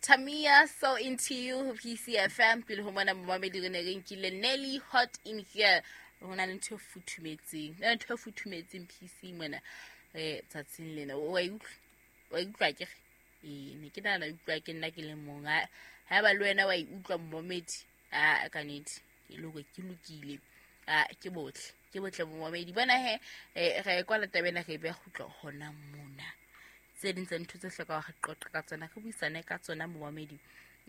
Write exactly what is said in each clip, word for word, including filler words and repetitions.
Tamia, "So Into You", ho P C F M. Pele ho mona, momamedi, re ne re nkile Nelly, "Hot in Here". Ho na le ntho e futhumetseng, na le ntho e futhumetseng P C mona eh tsatsing lena. Wa e utlwa? Wa e utlwa? Ke re ee, ne ke nahana utlwa ke nna ke le mong. Ha haeba le wena wa e utlwa, momamedi, a ka nnete ke le hore ke lokile. A ke botle, ke botle, momamedi. Bona he, eh, re e kwala taba ena, re e beha kgutla hona mona. Tse ding tsa ntho tse hlokang re qoqe ka tsona, re buisane ka tsona, momamedi,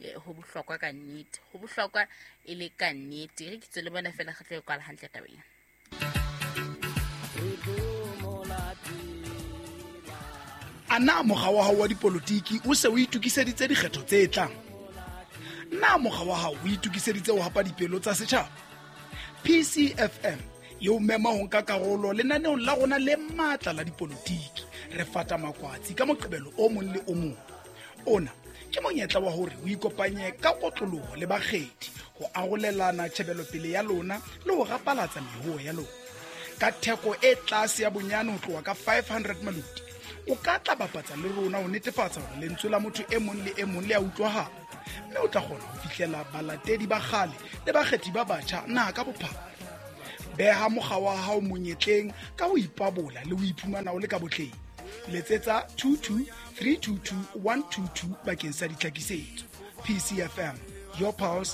eh, ho bohlokwa ka nnete, ho bohlokwa e le ka nnete. Re ke tswe le bona fela, re tlo e kwala hantle tabeng. A na mokga wa hao wa dipolotiki o se o itokiseditse dikgetho tse tlang? Na mokga wa hao o itokiseditse ho hapa dipelo tsa setjhaba? P C F M e o mema ho nka karolo lenaneong la rona le matla la dipolotiki, Re Fata Makwatsi, ka Moqebelo o mong le o mong. Ona ke monyetla wa hore o ikopanye ka kotloloho le bakgethi ho arolelana tjhebelopele ya lona le ho rapalatsa mehoo ya lona. Ka theko e tlase ya bonyane ho tloha ka five hundred maloti, o ka tla bapatsa le rona ho netefatsa hore lentswe la motho e mong le e mong le a utlwahala, mme o tla kgona ho fihlela balatedi ba kgale le bakgethi ba batjha naha ka bophara. Beha mokga wa hao monyetleng ka ho ipabola le ho iphumana o le ka botleng. Letsetsa two two three two two one two two bakeng sa ditlhakisetso. P C F M, your pulse.